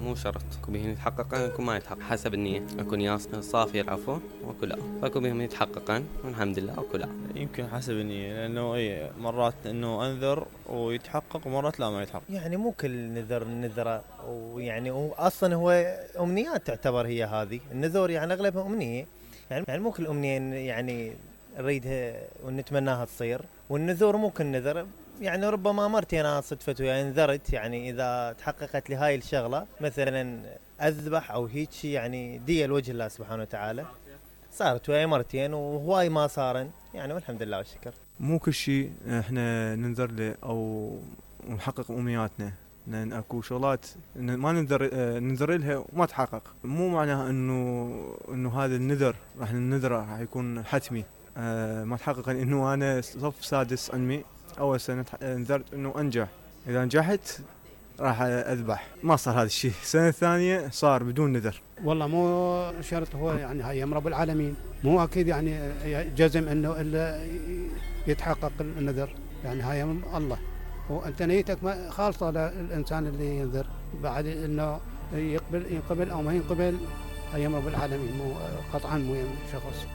مو شرط، اكو بهم يتحققن اكو ما يتحقق حسب النية، اكو نية صافية العفو واكو لا، فاكو بهم يتحققن والحمد لله واكو لا. يمكن حسب النية، لانه مرات انه انذر ويتحقق ومرات لا ما يتحقق. يعني مو كل نذره، ويعني اصلا هو امنيات تعتبر هي هذه النذور، يعني اغلبها امنيه، يعني مو كل امنيه يعني نريدها ونتمناها تصير، والنذور مو كل نذر، يعني ربما مرتي انا صدفت ويا نذرت، يعني اذا تحققت لي هاي الشغله مثلا اذبح او هيك، يعني دية لوجه الله سبحانه وتعالى، صارت وياي مرتين وهواي ما صارن يعني، والحمد لله والشكر. مو كل شيء احنا ننذر له او نحقق امنياتنا، لان اكو شغلات ما ننذر لها وما تحقق، مو معناها انه هذا النذر راح ننذره راح يكون حتمي. ما تحقق، انه انا صف سادس علمي اول سنه نذرت انه انجح، اذا نجحت راح اذبح، ما صار هذا الشيء. السنه الثانيه صار بدون نذر. والله مو شرط، هو يعني هاي رب العالمين، مو اكيد يعني جزم انه الا يتحقق النذر، يعني هاي الله، وانت نيتك خالصه للانسان اللي ينذر، بعد انه ينقبل او ما ينقبل هاي رب العالمين، مو قطعا مو شخص.